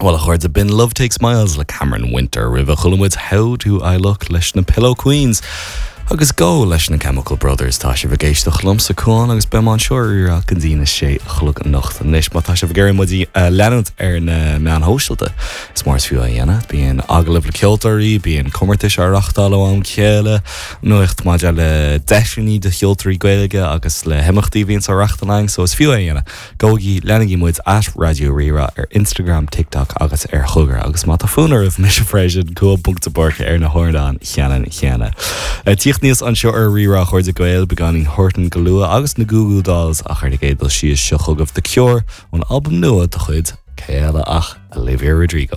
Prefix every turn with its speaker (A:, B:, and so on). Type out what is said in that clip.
A: Bhuel, a chairde, b'in Love Takes Miles le Cameron Winter. Roimhe chuala muid How Do I Look leis na Pillow Queens agus Go leis na Chemical Brothers. Tá sibh ag éisteacht liomsa, Cuán, agus beidh mé anseo ar Rí-Rá go dtí na sé a chlog anocht. Anois, má tá sibh ag iarraidh muid a leanúint ar na meáin shóisialta, is mór is fiú é a dhéanamh. Bíonn agallaimh le ceoltóirí, bíonn comórtais á reáchtáil ó am go chéile, nuacht maidir le deiseanna do cheoltóirí Gaeilge agus le himeachtaí a bhíonns á reáchtáil againn, so is fiú é a dhéanamh. Gabhaigí, leanaigí muid at Raidió Rí-Rá ar Instagram, TikTok agus ar Chogar. Agus má tá fonn oraibh, mise freisin, Cuán ponc de Búrca ar na hardáin cheannann chéanna. Ag tíocht aníos anseo ar Rí-Rá, a chairde Gael, beagáinín Horton go luath agus na Goo Goo Dolls ach ar an gcéad dul síos seo chugaibh The Cure ón albam nua de chuid cé eile ach Olivia Rodrigo.